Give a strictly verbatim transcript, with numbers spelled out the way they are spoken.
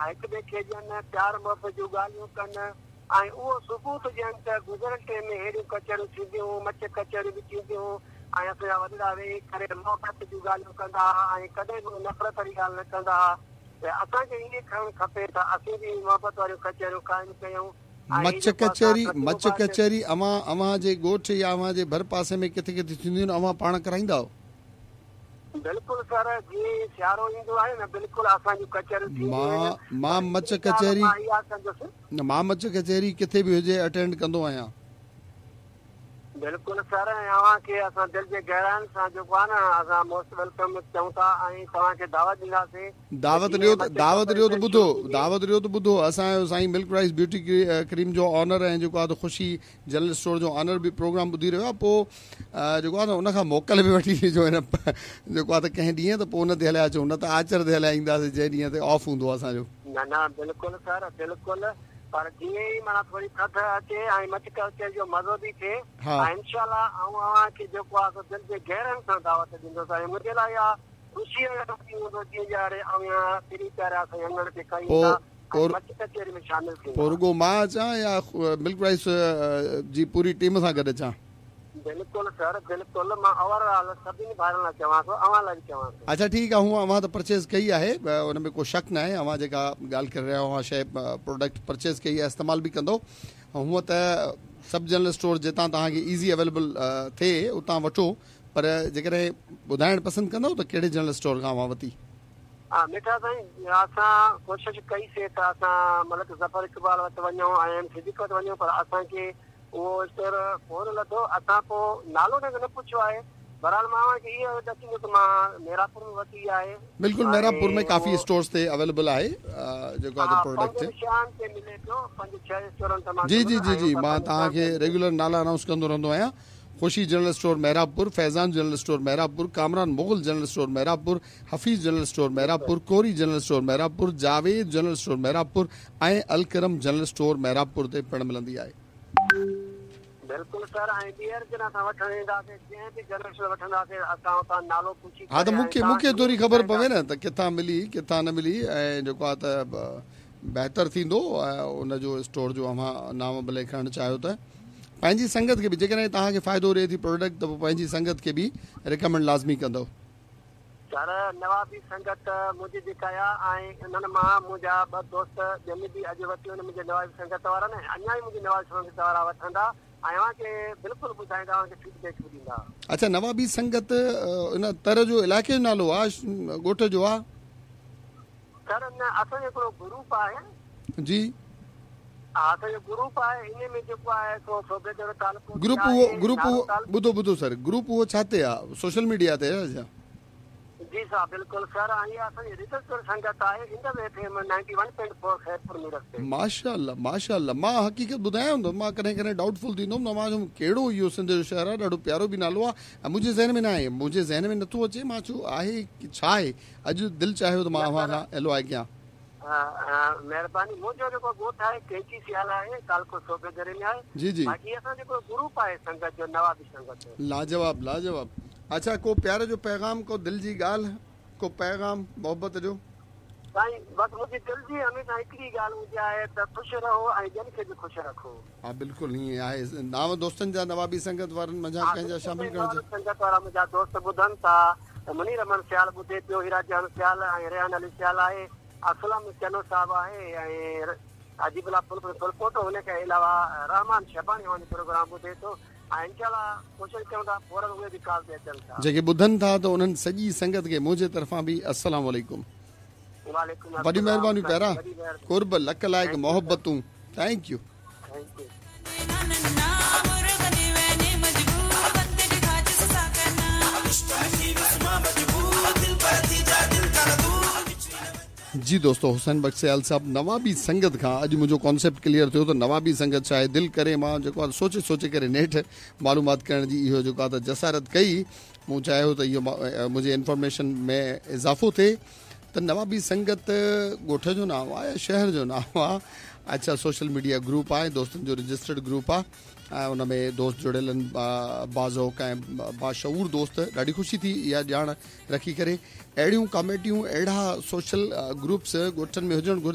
هڪ ٻئي کي ڏين، پيار محبت جون ڳالهيون ڪن ۽ اهو ثبوت ڏين ته گذريل ٽائيم ۾ اهڙيون ڪچهريون ٿينديون هيون، مچ ڪچهريون به ٿينديون هيون ۽ اسان جا وڏڙا ويهي ڪري محبت جون ڳالهيون ڪندا ها ۽ ڪڏهن به نفرت واري ڳالهه نه ڪندا ها. ته اسان کي ائين ڪرڻ کپي ته اسين به محبت واريون ڪچهريون قائم ڪيون. مچ ڪچهري، مچ ڪچهري اوهان اوهان جي ڳوٺ يا اوهان جي ڀر پاسي ۾ ڪٿي ڪٿي ٿينديون آهن، اوهان پاڻ ڪرائيندا آهيو؟ بلڪل سر، جيئن ئي سيارو ايندو آهي نه بلڪل اسان جون ڪچهريون ٿينديون مان آهن، پر مان مچ هڪڙي ڳالهه ڪچهري مان اها ڪندس. نه مان مچ ڪچهري ڪٿي به هجي اٽينڊ ڪندو آهيان. بلڪل سر، ۽ اوهان کي اسان دل جي گهراين سان جيڪو آهي نه اسان موسٽ welcome چئون ٿا ۽ توهان کي دعوت ڏينداسين ته دعوت جيئن ڏيو ئي ته مچ دعوت ڏيو ته ڪچهري ٻڌو شروع ٿيندي. دعوت ڏيو ته ٻڌو اسان جو سائين ملڪ رائيس بيوٽي ڪريم جو آنر ۽ جيڪو آهي ته خوشي جنرل اسٽور جو آنر به پروگرام ٻڌي رهيو آهي پوء جيڪو آهي نه ان کان موڪل به وٺي ڏجو هن جيڪو آهي ته ڪنهن ڏينهن ته پوء ان تي هليا اچون نه ته آچر تي هليا اينداسين جنهن ڏينهن تي آف هوندو آهي اسان جو. نه نه بلڪل سر بلڪل پر جيئن ئي معنيٰ ٿوري ٿڌ اچي ۽ مچ ڪچهري جو مزو به ٿئي ها. ۽ انشاء الله آئون اوهان کي جيڪو آهي سو دل جي گهرن سان دعوت ڏيندس ۽ منهنجي لاء اها خوشيء جو ڏينهن هوندو جيئن ڄاڻي اوهان پرين پيارا سائين اڱڻ تي ڪهي پوء ايندا ۽ پوء مچ ڪچهري ۾ شامل پوء ٿيندا. رڳو مان اچان يا ملڪ رائيس جي پوري ٽيم سان گڏ اچان؟ بلڪل سر بلڪل، مان اوور آل سڀني ڀائرن لاء چوان ٿو، اوهان لاء به چوان ٿو. اڇا ٺيڪ آ، هونء اوهان ته پرچيز ڪئي آهي ان ۾ ڪو شڪ ناهي، اوهان جيڪا ڳالهه ڪري رهيا آهيو اوهان شيء پروڊڪٽ پرچيز ڪئي آهي استعمال به ڪندو، هونء ته سب جنرل اسٽور جتان توهان کي ايزي اويليبل ٿئي اتان وٺو، پر جيڪڏهن ٻڌائڻ پسند ڪندؤ ته ڪهڙي جنرل اسٽور کان اوهان ورتي؟ ها مٺا سائين، اسان ڪوشش ڪئي سي ته اسان ملڪ ظفر اقبال وٽ وڃون ۽ ايم صديق وٽ وڃون پر اسان کي اهو اسٽور ڪونه لڌو، اسان پوء نالو هن کي نه پڇيو آهي، بهرحال مان اوهان کي اهو ڏسيندو ته مان ميرانپور ۾ ورتي آهي. بلڪل ميرانپور ۾ ۽ ڪافي اهو اسٽورز تي اويليبل آهي جيڪو آهي ها پروڊڪٽ. پنجن شهرن تي ملي پيو، پنج ڇهه اسٽورن تي مان جي جي گهميس جي ۽ جي اتان مان پنج توهان شهرن کي تي ملي. ريگيولر نالا انائونس ڪندو رهندو آهيان، خوشي general store Mehrabpur, Faizan general store Mehrabpur, Kamran Mughal general store Mehrabpur, Hafeez general store جي سر. Mehrabpur, Kori general store Mehrabpur, Javed general store Mehrabpur ۽ Alkaram general store Mehrabpur تي پڻ ملندي آهي. بلڪل سر، ۽ ٻيهر جڏهن اسان وٺڻ اينداسين جنهن به جنرل اسٽور وٺنداسين اسان اتان نالو پڇي ها ته ڪري ۽ مون کي توهان مون کي کي ٿوري به خبر پوي ٻڌائينداسين. نه ته ڪٿان ملي ڪٿان نه ملي ۽ جيڪو آهي ته بهتر ٿيندو ان جو اسٽور جو اوهان نانء ڀلي کڻڻ چاهيو ته پنهنجي سنگت کي به جيڪڏهن توهان کي فائدو ڏئي ٿي پروڊڪٽ ته پوء پنهنجي سنگت کي به ريڪمينڊ لازمي ڪندؤ. سر نوابي سنگت منهنجي جيڪا آ ۽ انهن مان منهنجا ٻه دوست ٻين به اڄ ورتيون آهن منهنجي نوابي سنگت وارن ۽ اڃا ئي منهنجي نوابي سنگت وارا وٺندا ۽ اوهان کي بلڪل ٻڌائيندا اوهان کي فيڊ بيڪ به ڏيندا. اڇا نوابي سنگت ان تر جو علائقي جو نالو آ ڳوٺ جو آ؟ سر نه اسان جو هڪڙو گروپ آهي. جي. ها اسان جو گروپ آهي انهي ۾ جيڪو آهي سو صوبيدڙو تعلقو به گروپ اهو آهي گروپ نارو اهو تعلقو. ٻڌو ٻڌو سر گروپ اهو ڇا تي آ سوشل ميڊيا تي آ ڇا؟ جي صاحب بلڪل سر ۽ اها اسان جي رجسٽر سنگت آهي Indus F M ninety one point four Khairpur Mirs تي. ماشاء الله ماشاء الله مان حقيقت ٻڌايان ته مان ڪڏهن ڪڏهن ڊائوٽ فل ٿيندو هوم ته مان چيم ڪهڙو اهو سنڌ جو شهر آهي ڏاڍو پيارو به نالو آهي ۽ منهنجي ذهن ۾ نه آهي منهنجي ذهن ۾ نٿو اچي مان چيو آهي ڇا آهي اڄ دل چاهيو ته مان نه اوهان سر کان ايل او آء ڪيان. مهرباني منهنجو جيڪو ڳوٺ آهي ڪيچي سيال آهي تعلقو صوبيدڙي ۾ آهي جي جي. باقي اسان جيڪو گروپ آهي سنگت جو نوابي سنگت جو. لاجواب لاجواب اڇا ڪو پيار جو پيغام ڪو دل جي ڳالهه ڪو پيغام محبت جو. سائين بس منهنجي دل جي هميشه هڪڙي ڳالهه هوندي آهي ته خوش رهو ۽ ٻين کي به خوش رکو. ها بلڪل ائين آهي نانء دوستن جا نوابي سنگت وارن منجهان ها ڪنهن جا بلڪل شامل سائين ڪرڻ نوابي سنگت وارا منهنجا دوست ٻڌن ٿا منير احمد سيال ٻڌي پيو هيرا جهان سيال ۽ ريحان علي سيال آهي اسلم چنو صاحب آهي ۽ عجيب الله ڦلپوٽو ان کان علاوه رحمان شباڻي اوهان جو پروگرام ٻڌي ٿو ۽ انشاء الله ڪوشش ڪيون ٿا فورن اهي به ڪال تي اچن ٿا. جيڪي ٻڌن ٿا ته انهن سڄي سنگت کي منهنجي طرفان به السلام عليڪم. وعليڪم وڏيون السلام مهربانيون سائين پيارا وڏي مهرباني. قرب لک لائق thank you sir. محبتون thank you. Thank you. جي دوستو حسين بخش سيال صاحب نوابي سنگت کان اڄ منهنجو ڪانسيپٽ ڪليئر ٿيو ته نوابي سنگت ڇا آهي دل ڪري مان جيڪو آهي سوچي سوچي ڪري نيٺ معلومات ڪرڻ جي اهو جيڪو آهي ته جسارت ڪئي مون چاهيو ته اهو منهنجي انفارميشن ۾ اضافو ٿئي ته نوابي سنگت ڳوٺ جو نانء آهي يا شهر جو نانء آهي اڇا سوشل ميڊيا گروپ آهي دوستن جو رجسٽرڊ گروپ آهي ۽ ان ۾ دوست جڙيل آهن باذوق ۽ باشعور دوست ڏاڍي خوشي ٿي اها ڄاڻ رکي ڪري اهڙيون ڪاميٽيون اهڙا سوشل گروپس ڳوٺن ۾ هجڻ گهرجن.